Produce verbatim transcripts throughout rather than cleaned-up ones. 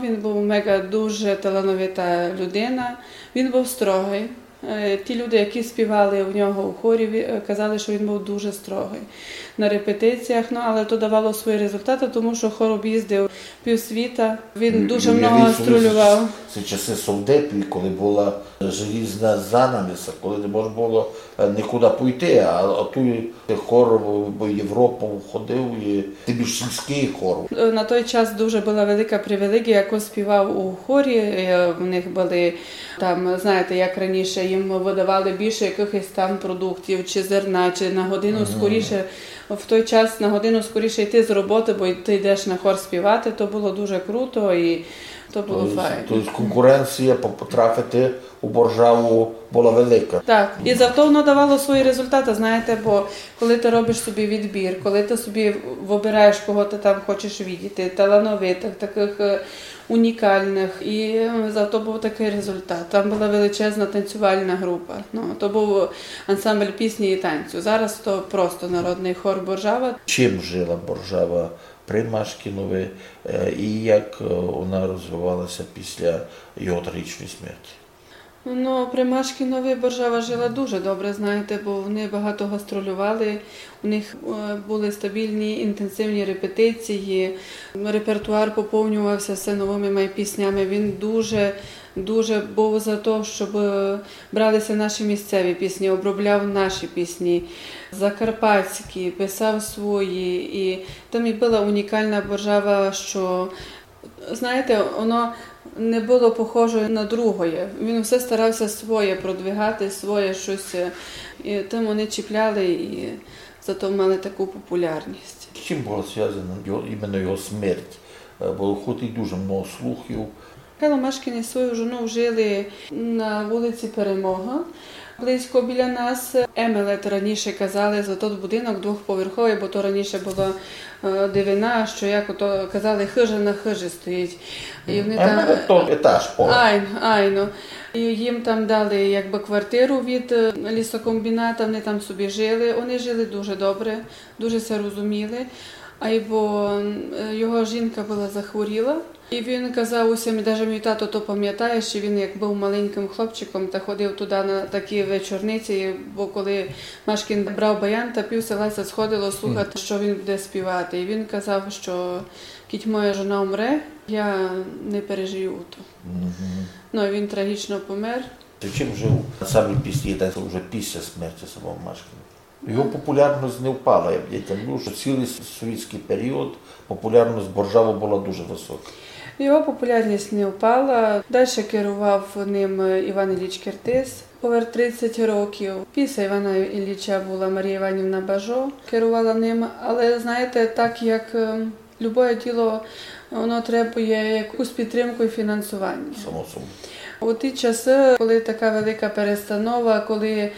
Він быв меґа дуже талановита людина. Він быв строгый. Е, ті люди, які співали у нього у хорі, ві-, е, казали, што він быв дуже строгый на репетиціях, ну, але то давало свої результаты, тому што хор об'їздив півсвіта. Він дуже много гастролював. Це часы совдепів, коли была желізна занавіса, коли не можна было, е, нікуды пойти, а, а туй хор в Європу ходив, і тым більш сільськый хор. Е, на той час дуже была велика привілеґія, як співав у хорі. Е, в них были там, знаєте, як раніше, їм выдавали більше якыхось там продуктів, чи зерна, чи на годину скоріше. В той час на годину скоріше йти з роботы, бо ты йдеш на хор співати, то было дуже круто і то было файно. То єсть конкуренція по-, потрафити у Боржаву была велика. Так, і зато воно давало свої результаты, знаєте, бо коли ты робиш собі відбір, коли ты собі выбираєш, кого ты там хочеш видіти, талановитых, такых, е, унікалных, і, е, зато быв такый результат. Там была величезна танцювальна група. Ну, то быв ансамбль пісні і танцю. Зараз то просто народный хор Боржава. Чим жила Боржава при Машкінови, е, і як, е, вона розвивалася після його трагічної смерті? Ну, при Машкінови Боржава жила дуже добре, знаєте, бо вони багато гастролювали, у них, е, были стабільні, інтенсивні репетиції, репертуар поповнювався все новыми май піснями. Він дуже, дуже быв за то, щоб, е, бралися наші місцеві пісні, обробляв наші пісні, закарпатські, писав свої. І там і была унікална Боржава, що, знаєте, воно не было похоже на другоє. Він все старався своє продвигати, своє щось, е, і тым вони чіпляли і зато мали таку популярність. З чим была звязана його, іменно його смерть? Е, было хоч і дуже много слухів. Михайло Машкін і свою жону жили на вулиці Перемога, близько біля нас. Емелет раніше казали за тот будинок двохповерховый, бо то раніше была, е, дивина, що, як ото казали, хыжа на хыжі стоїть. І вони там... Емелет то етаж, поверх. Айно, айно. І їм там дали якби квартиру від, е, лісокомбіната, вони там собі жили. Вони жили дуже добре, дуже ся розуміли. Айбо, е, його жінка была захворіла. І він казав усім, і даже мій тато то памятає, што він, як быв маленькым хлопчиком, та ходив туды на такі вечорниці, бо коли Машкін брав баян, та пів села ся сходило слухати, што він буде співати. І він казав, што кідь моя жона умре, я не пережию то. Ну, і він трагічно помер. Чим жив ансамбль пісні і танцю вже після смерті самого Машкіна? Його популярность не впала. Я, я тямлю, што цілый с-, совєтськый період популярность Боржавы была дуже высока. Його популярність не впала. Дальше керував ним Іван Ілліч Кертис поверх тридцять років. Після Івана Ілліча была Марія Іванівна Бажо, керувала ним. Але, знаєте, так як, е, любоє діло, воно требує якусь підтримку і фінансування. Само собою. У ті часы, коли така велика перестанова, коли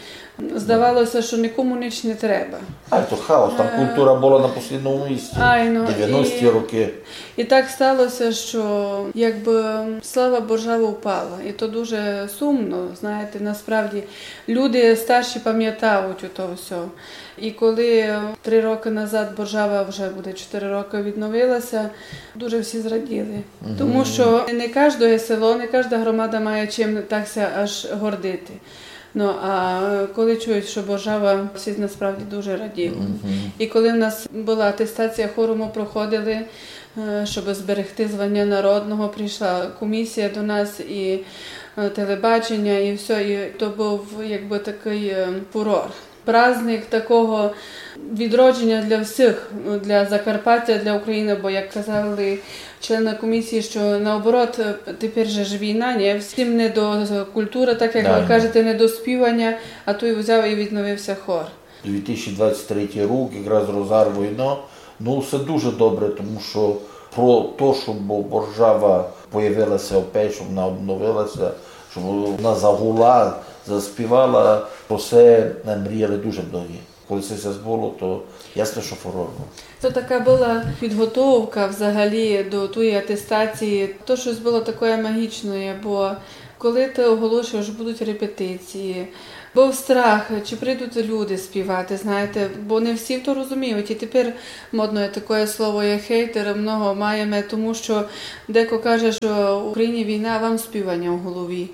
здавалося, што нікому ніч не треба. А, то хаос, там култура была на послідному місці. Айно, девяності рокы. І так сталося, што якби слава Боржавы впала. І то дуже сумно, знаєте, насправді. Люди старші памятають ото всьо. І коли три рокы назад Боржава, вже буде чотири рокы, відновилася, дуже всі зраділи. Тому што не каждоє село, не кажда громада має чим так ся аж гордити. Ну, а коли чують, што Боржава, всі насправді дуже раділи. І коли в нас была атестація хору, мы проходили, е, щоб зберегти звання народного, прийшла комісія до нас, і, е, телебачення, і всьо, і то быв якби такый, е, фурор. Праздник такого відродження для всіх, ну, для Закарпаття, для України, бо, як казали члены комісії, што наоборот, е, тепер же ж війна, ні? Всім не до культуры, так як вы кажете, не до співаня, а туй взяв і відновився хор. Дві тисячі двадцять третій рік, якраз розгар войны. Ну, всьо дуже добре, тому што про то, щоб Боржава появилася опять, щоб вона обновилася, щоб вона загула, заспівала, про се мріяли дуже многі. Коли се ся збуло, то ясно, што фурор быв. То така была підготовка взагалі до тої атестації. То штось было такоє магічноє, бо коли ты оголошуєш, што будуть репетиції, Быв страх, чи прийдуть люди співати, знаєте, бо не всі то розуміють. І тепер модне таке слово є хейтер, много маєме, тому що деко каже, що в Україні війна, а вам співання в голові.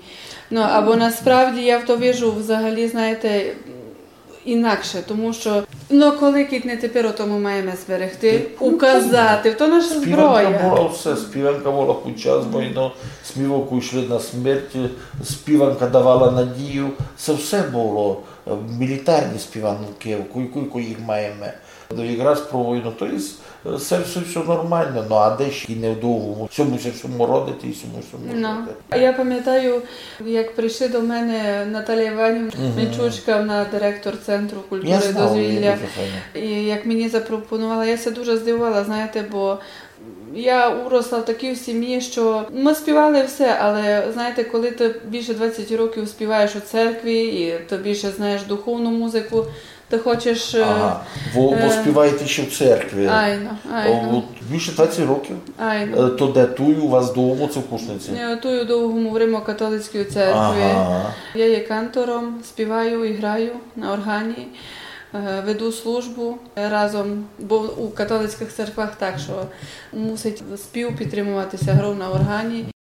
Ну, або насправді я в то вижу взагалі, знаєте, інакше, тому що, ну, коли кідь не тепер, о тому маєме зберегти, указати, то наша зброя. Співанка була все, співанка була під час війни, співанку йшли на смерть, співанка давала надію, це все було, е, мілітарні співанки, кілько їх маєме. Ну, якраз про війну, то є, е, це все, все нормально, ну а де ще не вдовго, всьому, всьому родити і всьому, всьому Ну. жити. А я пам'ятаю, як прийшли до мене Наталія Іванівна Мічучка, вона директор Центру культури Я і знав її дозвілля. Дуже файно. І як мені запропонувала, я ся дуже здивувала, знаєте, бо я уросла в такій сім'ї, що ми співали все, але, знаєте, коли ти більше двадцять років співаєш у церкві, і ти більше знаєш духовну музику, ти хочеш... е, Ага. Ви, ви е, співаєте ще в церкві. Айно, айно. О, от більше двадцять років. Айно. Е, то де туй у вас вдома, це в Кушниці? Я тую довго говоримо у католицькій церкві. Ага. Я є кантором, співаю і граю на органі, е, веду службу разом, бо у католицьких церквах так, що мусить спів підтримуватися грою на органі.